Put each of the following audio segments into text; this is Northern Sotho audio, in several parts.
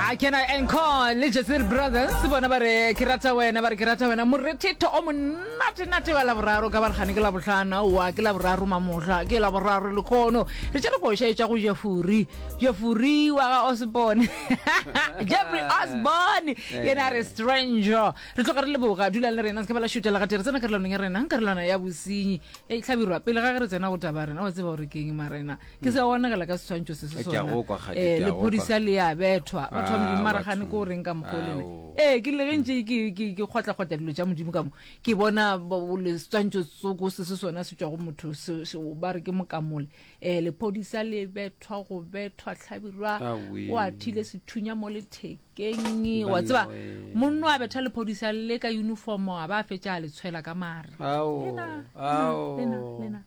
Ya ke na Encore le Jezil Brothers bona ba re ke rata wena ba re ke rata wena morethetho o monate nate wa laboraro ka baregane ke labohlano wa ke laboraro mamohla ke laboraro lekgono re tšere koša e tšwa go Jeffrey Jeffrey wa ga Osborne Jeffrey Osborne yena a re stranger re tloga re leboga dulang le rena se ka ba la šutela gate re tsena karolwaneng ya rena karolwana ya bosenyi e hlabirwa pele ga ge re tsena go taba rena wa tseba gore ke eng marena Ke se bonagala ka seswantšho se se Ke a sona. go kwa, Kgadi, Eh, ke a go kwa. lephodisa le a bethwa. Batho ba Ah, Modimo mara gane batho. ko o reng ka mokgwa o lena. Ao. Ee, ke rile ge ntše ke ke ke kgotla-kgotla dilo tša Modimo ka mo, ke bona bo- bo- le seswantšho tsoko se se sona se tšwa go motho se, se, ba re ke mokamole. Eh, lephodisa le bethwa go bethwa hlabirwa Aowi. o athile sethunya mo lethekeng. Wa tseba, Banna we. monno a betha lephodisa le ka uniform a ba a fetša a le tshwela ka mare. Ao, Lena, lena, ao. lena, lena.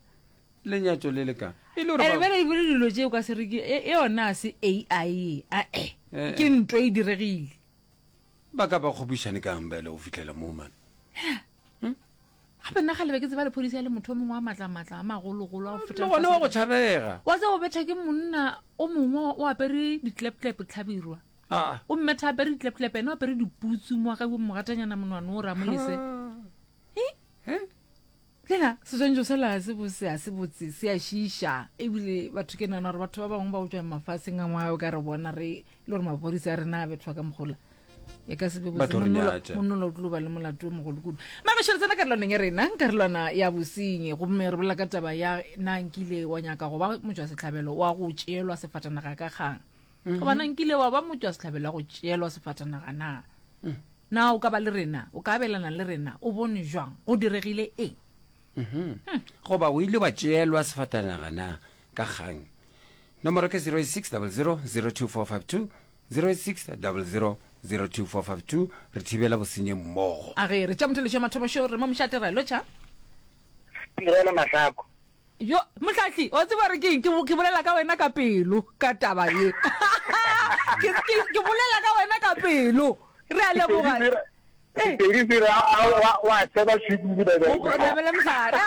Lenyatšo le le ka. E le gore Ene ba. bjale ebile dilo tše o ka se re ke e e yona a se AI ae Eh, ke eh. ntwa e diregile. Ba ka ba kgopišane kang bjale go fihlela moo man? Gape nna kgale be ke tseba lephodisa e le motho o mongwe wa matlamatla a magologolo a go feta Le gona wa go lefase. tšhabega. Wa tseba o betha ke monna o mongwe o apere ditleptlepe tlhabirwa. Ah. O mmetha apere ditleptlepe ene o apere diputsu mo ga mogatanyana monwana o ramolese. Eh? Eh? Lena seswantšho sela ga se bose, ga se botse, se a šiiša. Ebile batho ke nagana gore batho ba bangwe ba go tšwa mafaseng a mangwe ka re bona re le gore maphodisa a rena a bethwa ka mogola. E ka se be Ba botse tlo re monnola nyatša. monnola o tlo ba le molato o mogolo kudu. Magešo re tsena karolwaneng ya rena, karolwana ya bosenyi gomme re bolela ka taba ya na nkile wa nyaka go ba motšwasehlabelo wa go tšeelwa sefatanaga ka kgang. Goba na nkile wa ba motšwasehlabelo wa go tšeelwa sefatanaga na? Na o ka ba le rena? O ka abelana le rena? O bone jwang? Go diregile eng? Goba o ile wa tšeelwa sefatanaga na ka kgang? Nomoro ke 0600 02452, 0600 02452. Re thibela bosenyi mmogo. A ge re tša motheletšo ya mathomo šo re mo mošate ra lotšha. Tirelo Mahlako. Jo, Mohlahli, wa tseba gore ke eng? Ke, ke bolela ka wena ka pelo, ka taba ye. Ke, ke, ke bolela ka wena ka pelo. Re a leboga. Eh. Sepedi se re, a, wa, wa seba šukudu ba be. O nabele mohlare.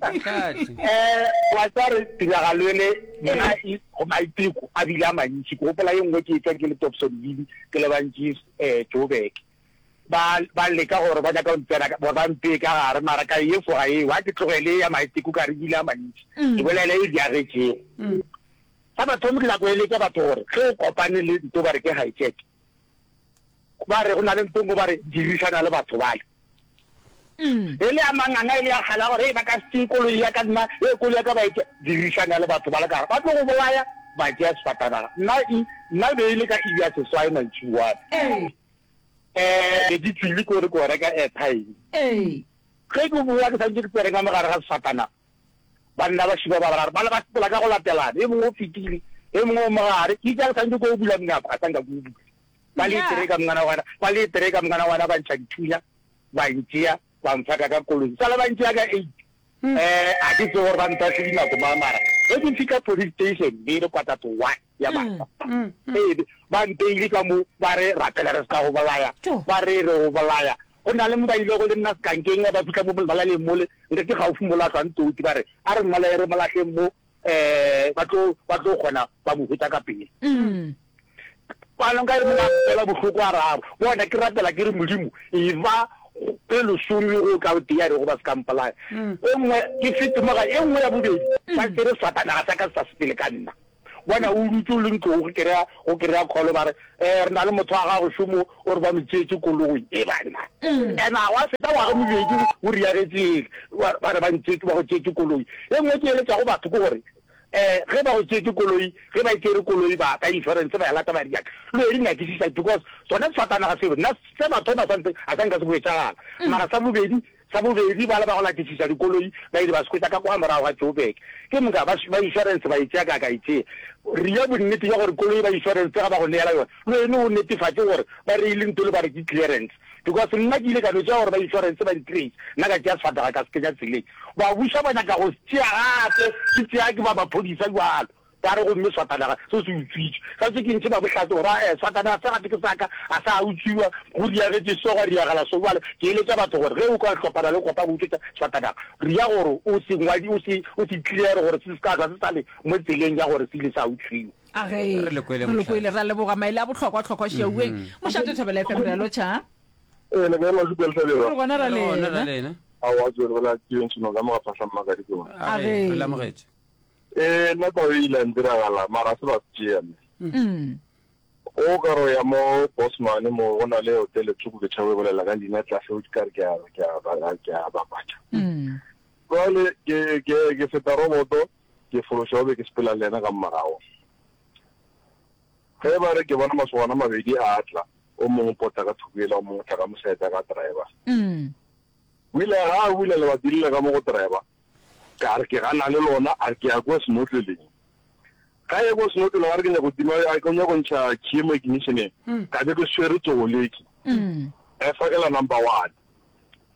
Mohlahli. Eh, wa tseba re tiragalo ele nna e, go maiteko a bile a mantši. Ke gopola ye nngwe ke etšwa ke le Dobsonville, ke lebantše eh, Joburg. Ba, ba leka gore ba nyaka go ntsena, gore ba mpee ka gare, mara ka e efoga eo. Ga ke tlogele ya maiteko ka re ebile a mantši. Ke bolele e diagetšego. Sa mathomo ke nyaka go eletša batho gore ge o kopane le nto ba re ke hijack, ba re go na le nto nngwe ba re dirišana le batho bale. E le ya manganga, e le ya kgale ya gore hei ba ka se tšee koloi ya ka nna, hei koloi ya ka ba e tšea. Dirišana le batho bale ka gare, ba tlo go bolaya, ba tšea sefatanaga. Nna e, nna e be e le ka iri ya seswai mantšiboa. Eh, be ke tšwile ko re ko reka airtime. Ge ke boa ke santše ke tsene ka mo gare ga sefatanaga, banna ba šiba ba bararo bale ba sepela ka go latelana, e mongwe o fetile, e mongwe o mo gare. Ke itše ga ke santše ko bula monyako, ga sa nka ke o bula. Ba le tere ka mongwana wa ba le tere ka mongwana wa ba ntšha dithunya, ba ntšea, ba mfaka ka koloi. Sale ba ntšea ka eight. Eh, a ke tsebe gore ba ntahle dinako mang, mara ge ke fihla police station be e le quarter to one ya masa. Ee, ba nteile ka mo, ba re rapela re se ka go bolaya, ba re re go bolaya. Go na le mo ba ilego le nna sekankeng, ba fihla mo malaleng mole, nke ke gaufi mola hlwang toti, ba re a re mmolaye re mo lahleng mo, um ba tlo ba tlo kgona ba mo hwetša ka pele. Bjalo nka re monna fela bohloko a raro. Bona ke rapela ke re Modimo e ba e lesome go ka tee ya rego ba se ka mpolaya. E nngwe ke fete mo ga e nngwe ya bobedi ba tsere sefatanaga sa ka se sa sepele ka nna. Bona o dutse o le ntlong go kry-a go kry-a call ba re um re na le motho wa gago šomo o re ba mo tseetse koloi e banna. And a gwa feta ngwaga mobedi o riagetše ele ba re ba ntseetse ba go tseetse koloi. E nngwe ke eletšago batho ke gore Eh, ge ba go tšeetše koloi, ge ba e tšere koloi ba ka insurance ba e lata ba diaka, le yo di nyakišiša because sona sefatanaga seo nna se mathomo a santse a sa nka se hwetšagala. Mara sa bobedi, sa bobedi bale ba go latišiša dikoloi ba ile ba se hwetša ka kwa morago ga Joburg. Ke moka ba ba insurance ba e tšea ka ka e tšea. Ria bonnete bja gore koloi ba insurance ga ba go neela yona, le wene o netefatše gore ba reile ntho le ba re ke clearance. Because nna ke ile ka no tšea gore ba insurance ba ntrace, nna ka tšea sefatanaga ka se kenya tseleng. Ba buša ba nyaka go se tšea gape, ke tšea ke ba maphodisa bjalo. Ba re gomme sefatanaga se se utswitšwe. Ga se ke ntšhe ba bohlatse gore ae sefatanaga se gape ke sa ka, ga sa utswiwa, go riagetše so, gwa riagala so. Bjale ke eletša batho gore ge o ka hlopana le kopa go utswetša sefatanaga, ria gore o se ngwadi, o se, o se clear gore se se ka hlwa se sa le mo tseleng ya gore se ile sa utswiwa. A ge. Re le kwele Re le kwele, mohlare. ra leboga maele a bohlokwa hlokwa šiaueng. Mošate Thobela FM re a lotšha. Ee, le kae Masupi a Lehlabela? Re gona ra Re gona ra lena. lena. Aowa, ke re la ke ntšhino ka mo ga Phahla Mmakadi ke mo. A A ge, ge. re le amogetše. Ee, nna taba e ile ya ntiragala, mara ga se ba se tšea mme. Mm. O ka re o ya mo Bosman mo go na le hotele tsoko ke tšhaba e bolela ka leina tlase o ka re ke a ke a ke a bapatša. Mm. Jwale ke ke ke feta roboto ke fološa o be ke sepela le yena ka morago. Ge ba re ke bona masogana a mabedi a tla, o mongwe o pota ka thoko yela, o mongwe o tla ka moseta ka driver. Mm. O ile ga a bula lebati le le ka mo go driver, ka re ke gana le lona, a re ke ya kua senotleleng. Ga ye kua senotleleng a re ke nyako tima, a ke nyako ntšha key mo ignitioneng, ka be ke swere tsoleki. Ka e fakela number one.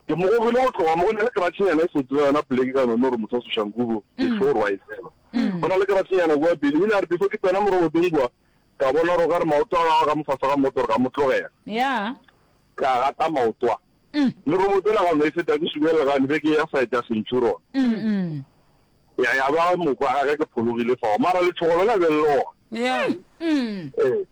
Ke mo gogile go tloga mo, go na le kratšhenyana e fetile yona poleke ka none gore motho wa Soshanguve ke sure wa e tseba. Go na le kratšhenyana kua pele, o ile a re before ke tsena mo robotong kua, ka bona gore o ka re maoto a gagwe ka mo fase ga motoro ka mo tlogela. Yeah. Ka gata maoto a. Le roboto ela ga no e feta ke subelela ka be ke ya side ya Centurion. Ya ya ba mokwa ga ke phologile fao. Mara letšhogo lona be le le gona. Yeah. Ee.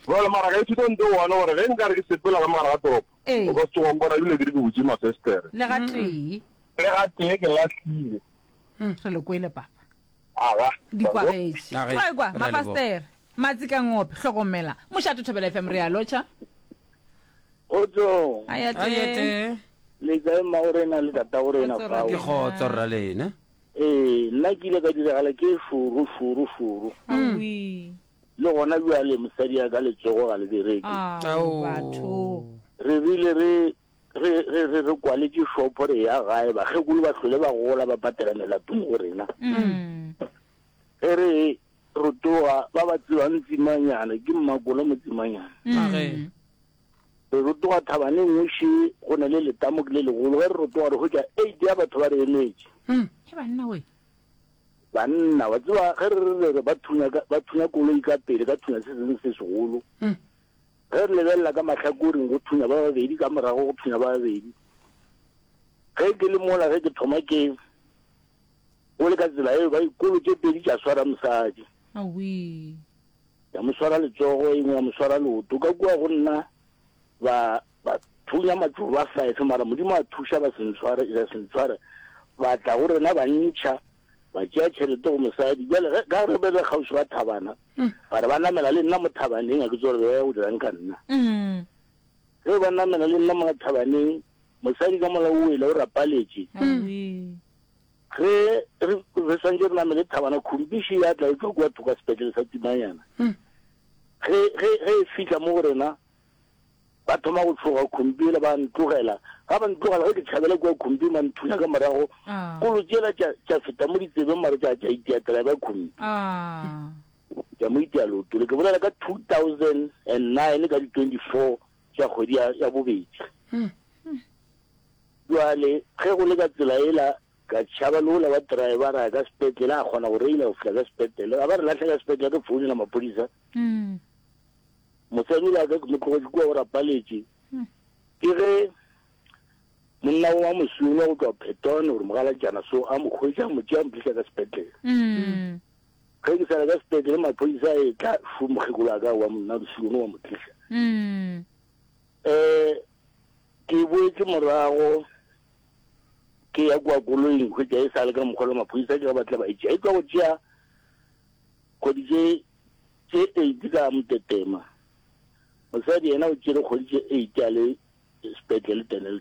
Jwale mara ka ithuta nto one gore ge nkare ke sepela ka mogare ga toropo, Ee. o ka se tsoge wa mpona ebile ke re ke butše mafestere. Le ga tee. Le ga tee ke lahlile. Re le kwele papa. Aga. Di kwagetše. Aga, Wa ekwa, re a leboga. mafastere. Matsikangope, hlokomela. Mošate Thobela FM re a lotšha. Kgotsong. Ayate. Ayate. Le kae mmagorena le tatagorena Kgotso, fao? Ke kgotso rra lena. Ee, nna ke ile ka diragala ke šoro šoro šoro. Aowi. Le gona bjale mosadi ya ka letsogo ga le bereke. Ao, batho. Re rile re re re re re kwaletše shopo re ya gae bakgekolo ba hlole ba gola ba patela melato mo go rena. Mm. Ge re rotoga ba ba tsebang Tsimanyana ke Mmakolo mo Tsimanyana. Age. Re rotoga thabana e nngwe še go na le letamo ke le legolo ge re rotoga re hwetša eight ya batho ba re emetše. He banna we. Banna wa tseba ge re re re ba thunya ka ba thunya koloi ka pele ka thunya se sengwe se segolo. Ge re lebelela ka mahlakoreng go thunya ba babedi ka morago go thunya ba babedi. Ge ke le mola ge ke thoma ke go le ka tsela eo ba dikolo tše pedi tša swara mosadi. Aowi. Ya mo swara letsogo e nngwe ya mo swara leoto ka kua go nna ba ba thunya matšoba a five mara Modimo a thuša ba se ntshware ba se ntshware ba tla go rena ba ntšha ba tšea tšhelete go mosadi bjale ge ka re be re kgauswi ga thabana ba re ba namela le nna mo thabaneng a ke tsore be ba ya go dirang ka nna ge ba namela le nna mo thabaneng mosadi ka mola o wele o rapaletše Ge re re swantše re namele thabana, khumpiši ya tla e tšwa kua thoko ga sepetlele sa Tsimanyana. Ge, ge, ge e fihla mo go rena, ba thoma go tšhoga khumpi yela, ba ntlogela. Ga ba ntlogela, ge ke tšhabela kua khumping, ba nthunya ka morago. Kolo tšela tša, tša feta mo ditsebeng, mara tša, tša itia driver khumpi. Tša mo itia leoto le. Ke bolela ka 2009 ka di 24 tša kgwedi ya, ya bobedi. Bjale, ge go le ka tsela yela, ka tšhaba le wola wa driver, ra ya ka sepetlele, a kgona go reila go fihla ka sepetlele. A ba re lahla ka sepetlele, re founela maphodisa. Mosadi yola wa ka ke mo tlogetše kua o rapaletše. Ke ge monna wa mosweu wa go tšwa Phetone gore mogalatšana so a mo hwetša, a mo tšea, a mo tliša ka sepetlele. Ge ke sa le ka sepetlele, maphodisa a etla, šu mokgekolo wa ka wa monna mosweu wa mo tliša. Um Ke boetše morago ke ya kua koloing hwetša e sa le ka mokgwa le maphodisa ke ga ba tla ba e tšea. E tšwa go tšea kgwedi tše tše eight ka Motetema. Mosadi yena o tšere kgwedi tše eight a le sepetlele Dennilton.